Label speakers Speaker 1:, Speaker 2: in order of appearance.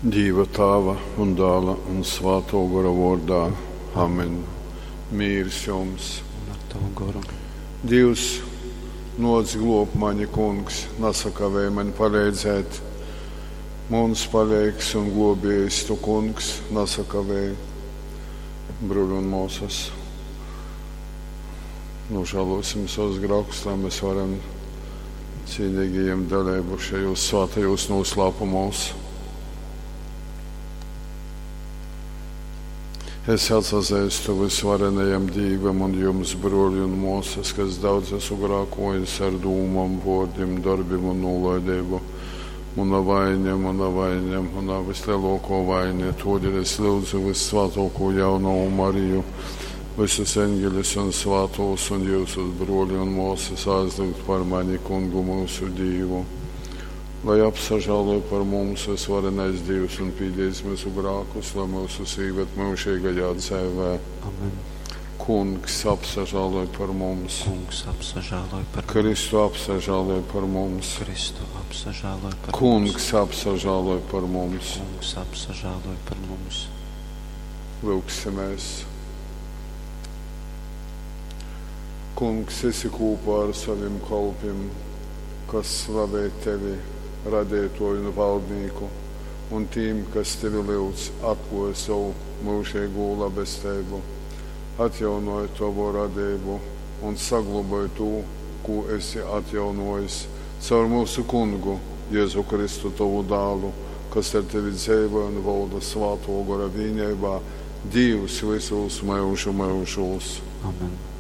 Speaker 1: Dīva Tāva un Dāla un Svātō Gora vōrdā. Amen. Mīrs jums!
Speaker 2: Un ar tavu goru.
Speaker 1: Dīvs, nōc glōb mani, Kungs, nasakavēj maņ paleidzēt. Muns paleigs un glōbējs, tu, Kungs, nasakavēj. Bruļi un mōsas, nožēlosim savus grākus, lai mēs varam cīnīgi ieņemt daļību šajos svētajos noslēpumos. Es atsazīstu visvarenajam Dīvam un jums, broļi un māsas, kas daudz esmu grākojis ar dūmām, vārdiem, darbiem un nolaidību. Mana vaina, mana vaina, mana vislielāko vaina. Todēļ es lūdzu vissvētāko jaunavu Mariju, visus eņģeļus un svētos un jūsus broļi un māsas aizlūgt par mani kungu mūsu Dīvu. Lai apsažāloja par mums visvarenais Dievs un pīdīs mūsu grākus, lai mūsu īved mūžīgajā dzīvē.
Speaker 2: Amen.
Speaker 1: Kungs apsažāloja par mums.
Speaker 2: Kungs apsažāloj par mums.
Speaker 1: Kristu apsažāloja par mums.
Speaker 2: Kristu apsažāloj par mums.
Speaker 1: Kungs apsažāloja par mums.
Speaker 2: Kungs apsažāloj par mums.
Speaker 1: Lūgsimies. Kungs, esi kopā ar saviem kalpiem, kas slavē tevi, radītoju un valdnieku, un tiem, kas tevi lūdz, atklāj savu mūžīgo labestību, atjaunoja tavu radību un saglabāj to, ko esi atjaunojis caur mūsu kungu, Jēzu Kristu, tavu dēlu, kas ar tevi dzīvo un valda svāto gora vienībā, Dievs visos mūžu mūžos.
Speaker 2: Amen.